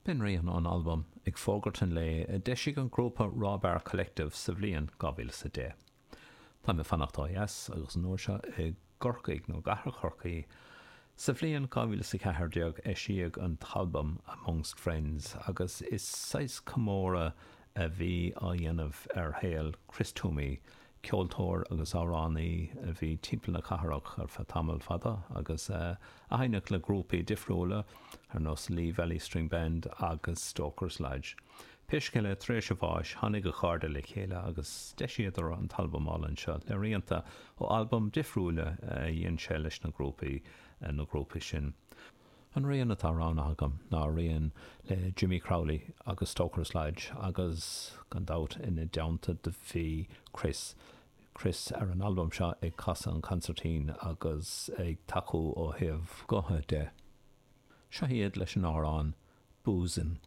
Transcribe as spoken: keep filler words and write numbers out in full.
B'in rian ón albam Ag Fógairt an Lae a d'eisigh an grúpa Raw Bar Collective sa bhliain dhá mhíle is a deich. Táim ag fanacht ó dheas agus an uair seo i gCorcaigh nó i gcathair Chorcaí. Sa bhliain dhá mhíle is a ceathair déag eisíodh an t-albam Amongst Friends agus is saghas comóradh a bhí á dhéanamh ar shaol Chris Twomey, ceoltóir agus amhránaí a bhí timpeall na cathrach ar feadh tamall fada agus a sheinneadh le grúpaí difriúla ar nós Lee Valley String Band agus Stokers Lodge. Pé scéal é, tar éis a bháis, tháinig a chairde le chéile agus d'eisíodar an t-albam álainn seo le rianta ó albaim difriúla a dhein sé leis na grúpaí na grúpaí sin. An rian atá roghnaithe agam ná rian le Jimmy Crowley agus Stokers Lodge agus gan dabht ina dteannta do bhí Chris. Chris ar an albam seo ag casadh an consairtín agus ag tacú ó thaobh gutha de. Seo iad leis an amhrán Boozin'.